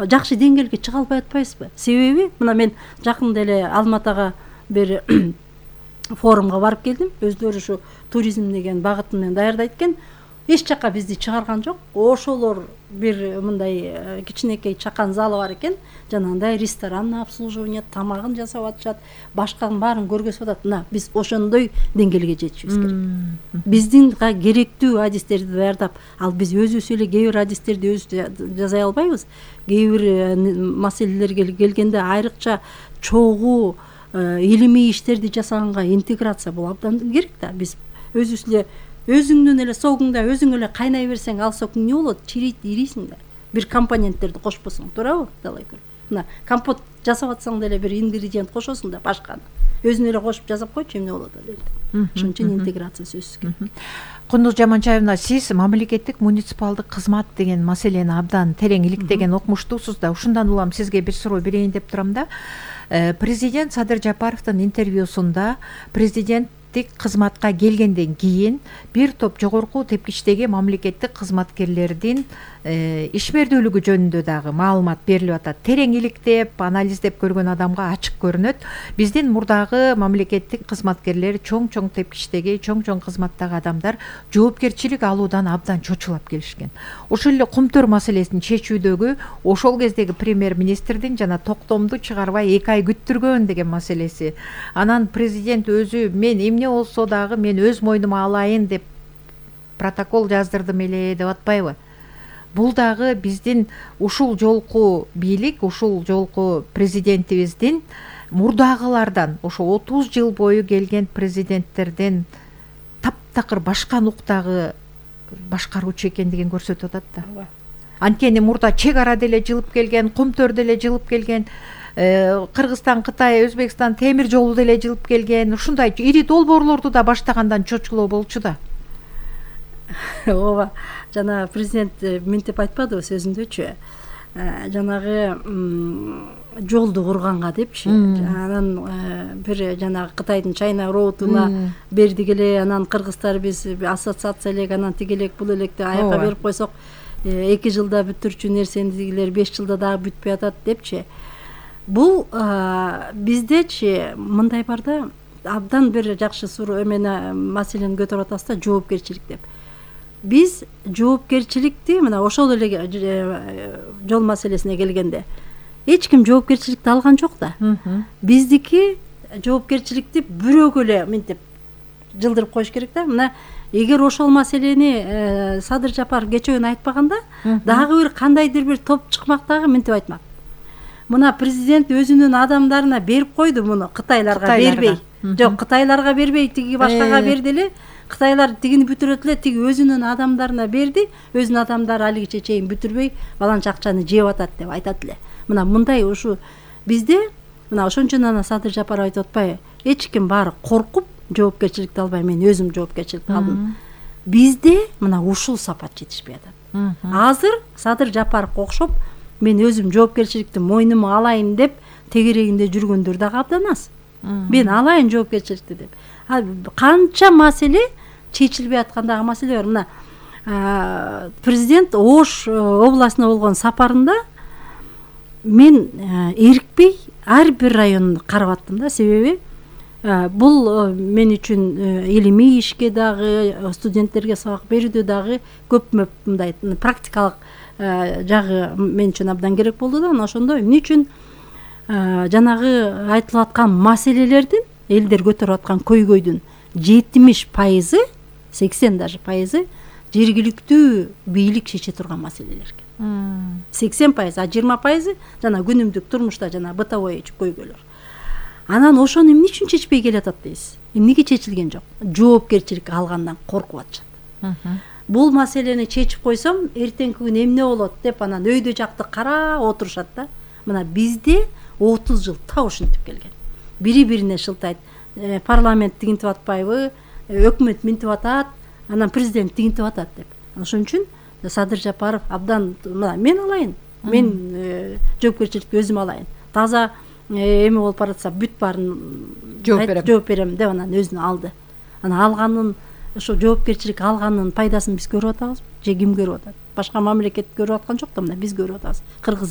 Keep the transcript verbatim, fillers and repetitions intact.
жакшы деңгээлге чыга албай атпайбызбы? Себеби мына мен жакында эле Алматага бир форумга барып келдим. Өздөрү ушу туризм деген багыт менен даярдайт экен. Эч жака бизди чыгарган жок. Ошолор бир мындай кичинекей чакан залы бар экен. Жанагындай ресторан обслуживание, тамагын жасап атышат, башканын баарын көргөзүп атат. Мына биз ошондой деңгээлге жетишибиз керек. Биздин керектүү адистерди даярдап, ал биз өзүбүз эле кээ бир адистерди өзүбүз жаза албайбыз. Кээ бир маселелерге келгенде айрыкча чогуу илимий иштерди жасаганга интеграция бул абдан керек да. Биз өзүбүз эле өзүңдүн эле согуңда өзүң эле кайнай берсең, ал сок эмне болот? Чирийт, ирийсиң да. Бир компоненттерди кошпосоң, туурабы? Далай көрүп. Мына компот жасап атсаң деле бир ингредиент кошосуң да, башканы. Өзүң эле кошуп жасап койчу, эмне болот ал эле. Ошон үчүн интеграция сөзсүз керек. Кундуз Жаманчаевна, сиз мамлекеттик муниципалдык кызмат деген маселени абдан терең иликтеген окумуштуусуз да. Ушундан улам сизге бир суроо берейин деп турам да. Президент Садыр Жапаровдун интервьюсунда президент кызматка келгенден кийин бир топ жогорку тепкичтеги мамлекеттик кызматкерлердин ишмердүүлүгү жөнүндө дагы маалымат берилип атат. Терең иликтеп, анализдеп көргөн адамга ачык көрүнөт. Биздин мурдагы мамлекеттик кызматкерлер, чоң-чоң тепкичтеги, чоң-чоң кызматтагы адамдар жоопкерчилик алуудан абдан чочулап келишкен. Ошол эле Кумтөр маселесин чечүүдөгү ошол кездеги премьер-министрдин жана токтомду чыгарбай эки ай күттүргөн деген маселеси. Анан президент өзү мен эмне болсо дагы мен өз мойнума алайын деп протокол жаздырдым эле деп атпайбы? Бул дагы биздин ушул жолку бийлик, ушул жолку президентибиздин мурдагылардан, ошо отуз жыл бою келген президенттерден таптакыр башка нуктагы башкаруучу экендигин көрсөтүп атат да. Анткени мурда чек ара деле жылып келген, Кумтөр деле жылып келген, Кыргызстан, Кытай, Өзбекстан темир жолу деле жылып келген. Ушундай ири долбоорлорду да баштагандан чочулоо болчу да. Ооба, жана президент мынтип айтпадыбы сөзүндөчү. Жанагы жолду курганга депчи. Анан бир жанагы Кытайдын Чайна роутуна бердик эле, анан кыргыздар биз ассоциация элек, анан тиги элек, бул электи аяка берип койсок, эки жылда бүтүрчү нерсени тигилер беш жылда дагы бүтпөй атат депчи. Бул биздечи мындай бар да, абдан бир жакшы суроо эмени маселени көтөрүп атасыз да, жоопкерчилик деп. Биз жоопкерчиликти мына ошол эле жол маселесине келгенде эч ким жоопкерчиликти алган жок да. Биздики жоопкерчиликти бирөөгө эле мынтип жылдырып коюш керек да. Мына эгер ошол маселени Садыр Жапаров кечээ айтпаганда, дагы бир кандайдыр бир топ чыкмак дагы мынтип айтмак. Мына президент өзүнүн адамдарына берип койду муну, Кытайларга бербей. Жок, Кытайларга бербей, тиги башкага берди эле. Кытайлар тигини бүтүрөт эле, тиги өзүнүн адамдарына берди. Өзүнүн адамдары алигиче чейин бүтүрбөй, баланча акчаны жеп атат деп айтат эле. Мына мындай ушу бизде мына ошон үчүн ана Садыр Жапаров айтып атпайбы? Эч ким баары коркуп жоопкерчиликти албай, мен өзүм жоопкерчиликти алдым. Бизде мына ушул сапат жетишпей атат. Азыр Садыр Жапаровго окшоп мен өзүм жоопкерчиликти мойнума алайын деп тегерегинде жүргөндөр дагы абдан аз. Мен алайын жоопкерчиликти деп. Канча маселе чечилбей аткандагы маселе бар. Мына президент Ош областына болгон сапарында мен эрикпей ар бир районду карап аттым да, себеби бул мен үчүн илимий ишке дагы, студенттерге сабак берүүдө дагы көп мындай практикалык жагы мен үчүн абдан керек болду да. Ошондо эмне үчүн жанагы айтылып аткан маселелердин, элдер көтөрүп аткан көйгөйдүн жетимиш пайызы, сексен даже пайызы жергиликтүү бийлик чече турган маселелер экен. сексен пайыз, а жыйырма пайызы жана күнүмдүк турмушта жана бытовой көйгөйлөр. Анан ошону эмне үчүн чечпей келатат дейсиз? Эмнеге чечилген жок? Жоопкерчилик алгандан коркуп атышат. Бул маселени чечип койсом, эртеңки күнү эмне болот деп анан өйдө жакты карап отурушат да. Мына бизде отуз жыл та ушинтип келген. Бири-бирине шылтайт. Парламент тигинтип атпайбы, өкмөт мынтип атат, анан президент тигинтип атат деп. Ошон үчүн Садыр Жапаров абдан мына мен алайын. Мен жоопкерчиликти өзүм алайын. Таза эме болуп баратса бүт баарын жооп берем деп анан өзүнө алды. Анан алганын, ошо жоопкерчилик алганын пайдасын биз көрүп атабызбы? Же ким көрүп атат? Башка мамлекет көрүп аткан жок да, мына биз көрүп атабыз. Кыргыз